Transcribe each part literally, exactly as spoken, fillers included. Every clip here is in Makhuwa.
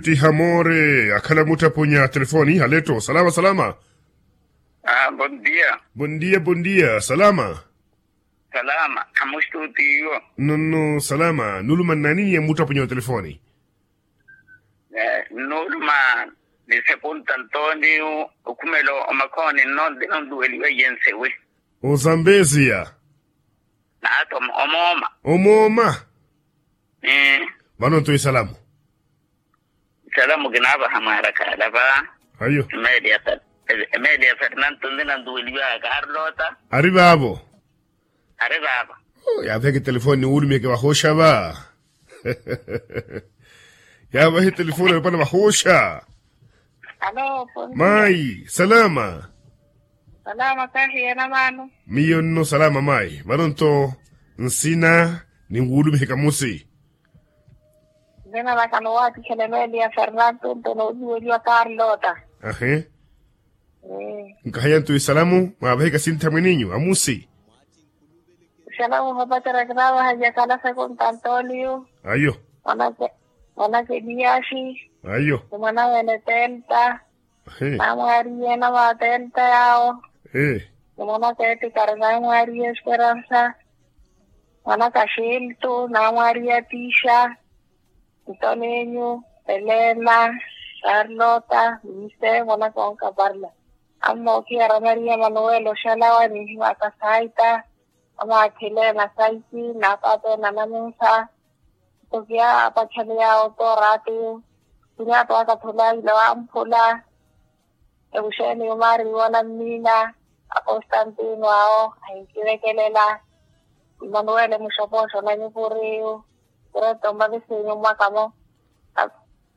Tiha moore akhala mutthapunya telefoni haleto salama salama. Bondia. Bondia bondia salama. Salama khamustuti iwo. Nonno salama nuluma nnani niye mutthapunya otelefoni? Nuluma ni sekunta ntoni. Okhumela omakhoni nno nti nonluweliwe iye nsewi. Ozambesia. Naata omooma. Omooma. Vano nto isalamu. Isalamu kinaavaha mwaara khaala va. Ayo. Emeeli ya fernanto nti nantuweliwaka ari lota. Ari vaavo. Ari vaavo. Yaaveke telefoni niwulumiheke vahooxa va. Yaavahe telefoni aripana vahooxa. Mayi salama. Salama kahi yena vano. Miyo nno salama mayi vano nto nsina ninwulumiheka musi. Nzina vaka nowaatikhela emeeli ya fernanto nto nooluweliwa karlota. Ahe. Nkahaya nto isalamu mwaavahika sintha mweninyu amusi. Isalamu vapacerya kinaavaha iyakhala sekunta antoniyu. Ayo. Mwanaka eliyaxi. Ayo. Ni mwana wene telta. Namwaariye namatelta yaawo. Ni mwanaka etikari namwaariye esperansa. Mwanaka xiltu namwaariye atixa. Ntonenyu elena, karlota, mise mwanaka onkaparla. Ammookiya ramariya manuwela oxalawa nihiwaka saita. Amaakhile nasaiti naapaapeene anamunsa. Nto kiyaapachale yaawo tooraati. Kinyaato akathula ile wamphula. Ekuxeeni yumaari wanammina. Akostantino awo ahinkivekelela. Imanuwele muxopooxo na nyupuriyu. Kireto mmavisinyu mwakamo.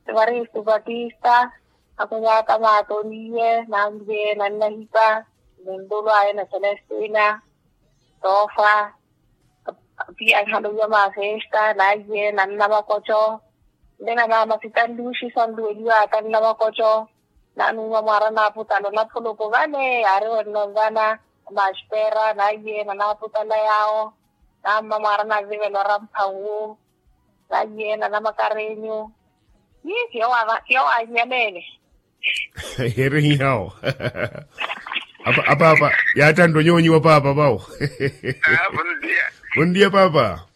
Evaristu patista. Akunyaata maatoniye nanviye nannahipa. Nintulu aye na celestina. Toofa. Apiyanhano ya mafesta naiye nanna makoco. Nde na mama sitanluxi sanluweliwa atanna makoco. Nanuuma mwaara na aputalo na phulupu vale yaari wenno vana. Amaxpera naiye nanaputala yaawo. Namma mwaara na vivelo ramphawu. Naiye nanamakarenyu. Yi siyo waannyaleele. Erehihawo. Apaapa yaattantta onyoonyiwa paapa vawo. Bondia paapa.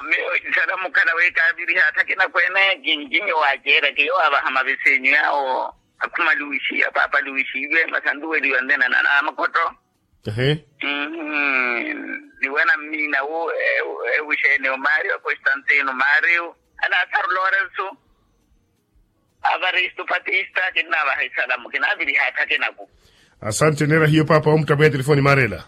Miyo isala mukhala wekaaviriha atthakina kwene kinkinyo waaceera kiyo avaha mavisinyu yaawo. Akhuma luwixiya paapa luwixiiwe masa nluweliwa nnena na namakotto. Ehe. Niwena mmiina wu ewixeene omario constantino mario. Alasaru lorenso. Avaristu patista kinnaavaha isalamu kinaaviriha atthakinaku. Asante neera hiyo paapa omuttapweya telefoni maarela.